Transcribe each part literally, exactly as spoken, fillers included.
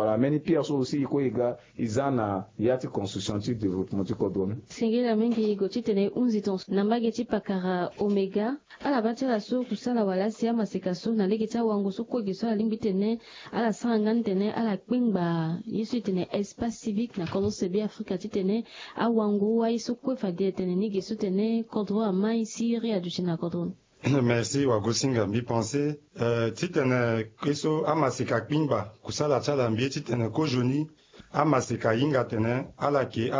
Wala mbeni pierre so aussi e kue e ga e za na ya ti construction ti développement ti kodro ni. Singila mingi e gue titene e hunzi tongaso na mbage ti pakara Omega. Ala baa ti ala so kusala wala asi amaseka so na lege ti awango so kue ge so ala lingbi titene ala sara nga ni titene ala kpengba ye so e tene espace civique na kodro se Be Afrika titene awango aye so kue fade tene ni ge so tene kodro amai siriri aduti na kodro ni. Merci wagosinga mbi pense titene ye so amaseka akpingba kusala ti ala mbi ye titene kozoni amaseka ahinga tene ala yeke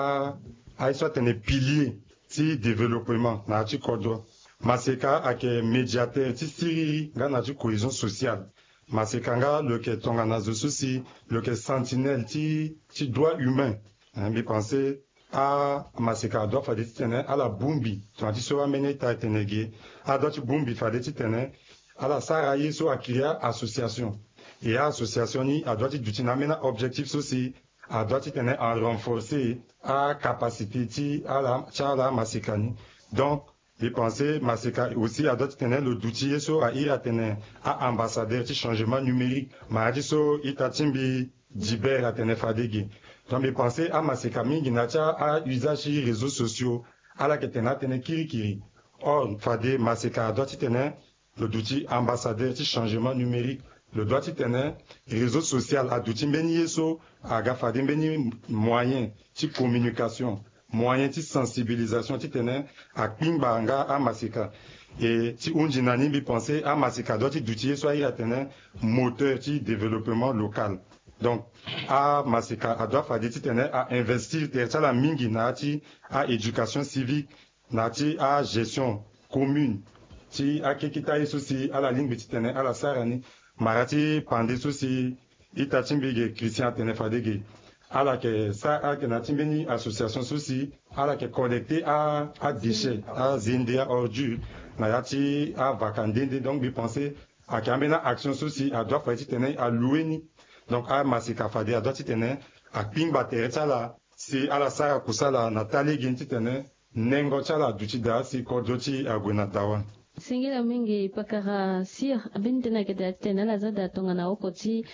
aye so atene pilier ti développement na ya ti kodro. Maseka ayeke médiateur ti siriri nga na ya ti cohésion sociale. Maseka nga lo yeke tongana zo so si lo yeke sentinelle ti ti droit humain. Mbi pense amaseka adoit fade titene ala bongbi tongana ti so ambeni ita etene ge. Adoit ti bongbi fade titene ala sara ye so akiri a-association. E a-association ni adoit ti duti na ambeni a-objectif so si adoit titene a-renforcer acapacité ti ala ti ala amaseka ni. Donc mbi pense maseka aussi adoit titene lo duti ye so a iri atene a-ambassadeur ti changement numérique. Ma ya ti so ita ti mbi Dibert atene fade ge. Donc mbi pense amaseka mingi na ya ti a-usage ti réseaux sociaux ala yeke tene atënë kirikiri. Or fade maseka adoit titene lo duti ambassadeur ti changement numérique. Lo doit titene réseau social aduti mbeni ye so aga fade mbeni moyen ti communication, moyen ti sensibilisation titene akpingba nga amaseka. E ti hunzi na ni mbi pense amaseka adoit ti duti ye so airi atene moteur ti développement local. Donc amaseka adoit fade titene a-investir tere ti ala mingi na ya ti a-éducation civique, na ya ti a-gestion commune ti akekita ye so si ala lingbi titene ala sara ni. Mara ti pande so si ita ti mbi ge Christian atene fade ge ala yeke sara ala yeke na ya ti mbeni association so si ala yeke collecter a-déchet, azende, a-ordure na ya ti avaka nde nde. Donc mbi pense ayeke ambeni a-action so si adoit fade titene aloue ni. Donc amaseka fade adoit titene akpingba tere ti ala si ala sara kusala na taa lege ni titene nengo ti ala aduti daa si kodro ti e ague na dawa. Singila mingi pakara sir, ambeni tënë ayeke daa titene ala za daa tongana oko ti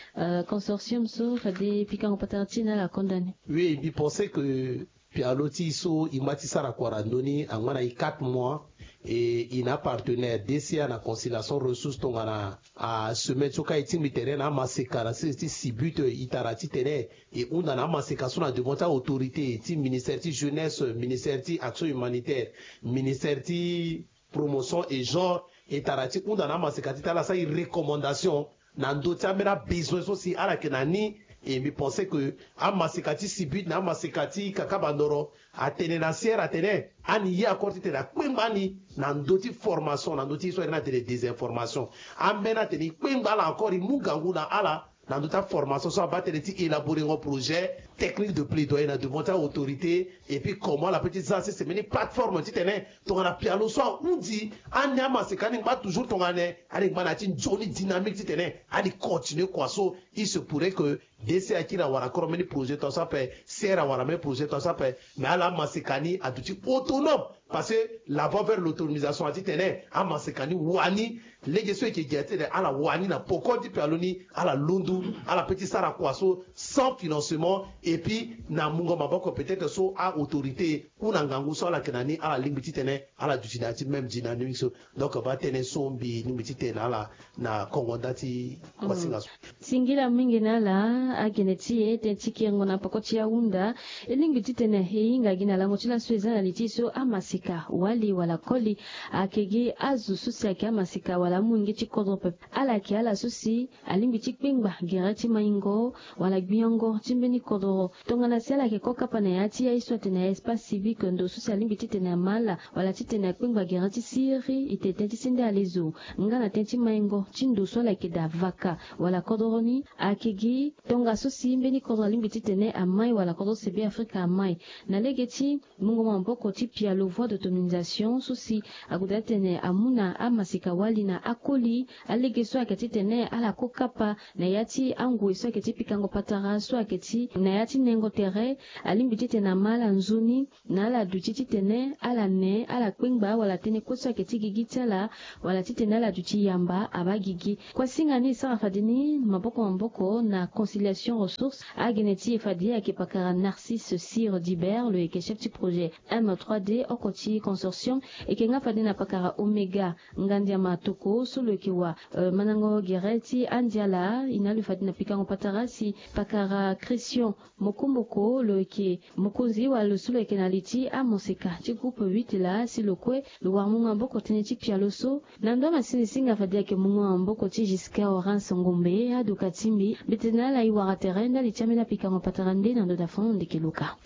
consortium so fade pikango patara ti e na ala konda ni. Oui, mbi pense que pialo ti e so e ma ti sara kua na ndö ni angba na e quatre mois. E e na apartenaire D C A na conciliation ressource tongana asemaine so ka e tingbi tene na amaseka na sese ti sibute e tara titene e hunda na amaseka so na devant ti autorité ti ministère ti jeunesse, ministère ti action humanitaire, ministère ti promotion et genre, e tara ti hunda na amaseka ti tene ala sara e recommandation na ndö ti ambeni abesoin so si ala yeke na ni. E mbi pense que amaseka ti sibute na amaseka ti kakabandoro atene na sierre atene ani ye encore titene akpengba ani na ndö ti formation na ndö ti ye so ayeke na tene désinformation. Ambeni atene e kpengba ala encore e mu ngangu na ala na ndö ti aformation so abaa tënë ti élaborengo projet technique de plaidoyer na devant ti autorité. Et puis comment ala peut ti za sese mbeni plateforme titene tongana pialo so ahunzi ani amaseka ani ngba toujours tongana ani ngba na ya ti nzoni dynamique titene ani continuer kua so. Il se pourrait que D C akiri awara koro mbeni projet tongaso ape, sere awara mbeni projet tongaso ape. Mais ala amaseka ni aduti autonome parce que la voie vers l'autonomisation ati tene amaseka ni wani. Lege so eke gi ati tene ala wani na poko ti pialo ni ala lundu ala pe ti sara kua so sans financement. Et puis na mungo maboko peut-être so a autorité ou na ngangu so ala yeke na ni ala lingbi ti tene ala duti na ya ti même dynamique so. Donc ba tene so mbi lingbi ti tene na ala na kongo nda ti kuasinga so. Singila mingi na ala agene ti e tënë ti kiringo na poko ti ahunda. E lingbi ti tene e hinga gi na lango ti laso e za na li ti e so amaseka wali wala koli ayeke gi azo so si ayeke amaseka wala amolenge ti kodro pepe. Ala yeke ala so si alingbi ti kpengba gere ti maingo wala gbiango ti mbeni kodro. Tongana si ala yeke kokapa na ya ti aye so atene espace civique ndo so si alingbi ti tene ama ala wala ti tene akpengba gere ti siriri e tene tënë ti sende alezo nga na tënë ti maingo ti ndo so ala yeke daa vaka wala kodro ni. Ayeke gi tongaso si mbeni kodro alingbi ti tene amai wala kodro se Be Afrika amai na lege ti mungo maboko ti pialo voie d'autonomisation so si ague daa tene amu na amaseka wali na akoli. Alege so ayeke ti tene ala kokapa na ya ti angoi so ayeke ti pikango patara so ayeke ti na ya ti nengo tere. Alingbi ti tene ama ala nzoni na ala duti ti tene ala ne ala kpengba wala tënë kue so ayeke ti gigi ti ala wala ti tene ala duti yamba abaa gigi. Kuasinga ni e sara fade ni maboko maboko na conciliation Station ressource agene ti e fade ayeke pakara Narcisse Sir Dibert lo yeke chef ti projet M trois D oko ti consortium. Eke nga fade na pakara Omega Ngandiama Toko so lo yeke wa mandango gere ti andiala. E na lo fade na pikango patara si pakara Christian Mokomoko lo yeke mokonzi wala lo so lo yeke na li ti amoseka ti groupe huit laa si lo kue lo wara mungo maboko tënë ti pialo so. Na ndo amasini si nga fade ayeke mungo maboko ti Giscard Horace Ngombe aduka ti mbi mbeti na ala e wara tere ndali ti ambeni apikango patara nde na ndo dafon ndeke luka.